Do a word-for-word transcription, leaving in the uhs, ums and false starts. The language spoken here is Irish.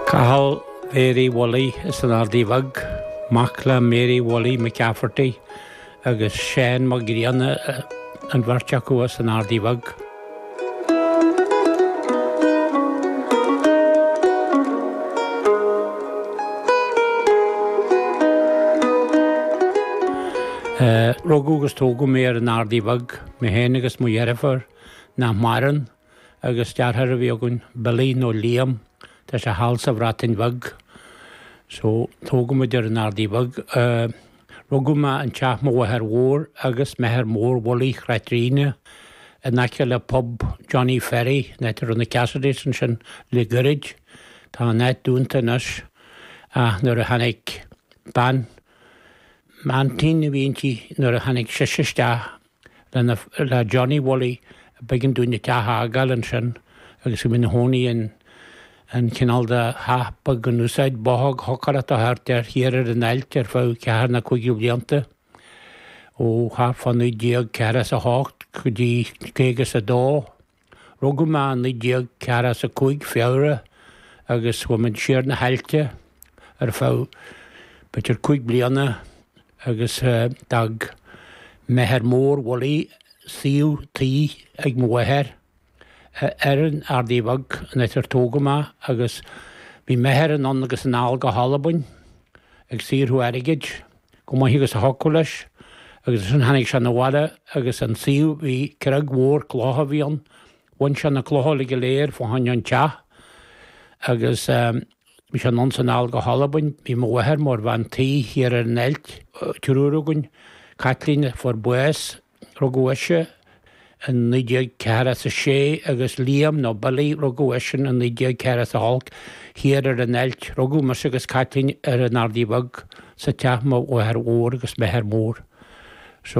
Cathal Mhéaraí Mholly as an Ardaí Bheag, mac le Mary Mholly McCafferty agus Seán Mac Grianna an bheirt acu as an Ardaí Bheag. Rugadh agus tógadh mé ar an Ardaí Bheag, mé féin agus mo dheirfiúr nach maireann agus deartháir a bhí againn, Billy nó Liam, tá sé thall sa Bhreatain Bheag. So tógadh muid ar an Ardaí Bheag. Rugadh mé in teach mo mháthair mhór agus m'athair mór Willie Chraitríne in aice le pub Johnny Ferry, an áit a raibh na Cassidys ansin le gairid. Tá an áit dúnta anois ach nuair a tháinig bean m'aintín a bhí inti nuair a tháinig sise isteach lena le Johnny Willie b'éigean dúinn an teach a fhágáil ansin agus bhí muid ina chónaí in an cineál de theach beag in úsáid, bothóg chocaireachta thart air thiar ar an Ailt ar feadh ceathair nó cúig blianta, ó thart fá naoi déag ceathracha is a hocht go dtí caoga is a dó. Rugadh mé i naoi déag ceathracha is a cúig, Feabhra, agus chuaigh muid siar na hAillte ar feadh b'fhéidir cúig bliana agus d'fhág m'athair mór Willie suíomh tí ag mo mháthair ar an Ardaí Bheag, an áit ar tógadh mé, agus bhí m'athair anonn agus anall go hAlbain ag saothrú airgid, chomh maith agus a thiocfadh leis, agus ansin tháinig sé 'na bhaile agus an suíomh, bhí creag mhór clocha a bhí ann, bhain sé na clocha uilig go léir fá choinne an teach agus bhí sé anonn 's anall go hAlbain, bhí mo mháthair mar bhean tí thiar ar an Ailt, triúr againn, Caitlín a fuair bás, Rugadh ise in naoi déag ceathracha is a sé agus Liam nó Billy, rugadh eisean in naoi déag ceathracha is a hocht thiar ar an Ailt. Rugadh mise agus Caitlín ar an Ardaí Bheag sa teach mo mháthair mhór agus m'athair mór.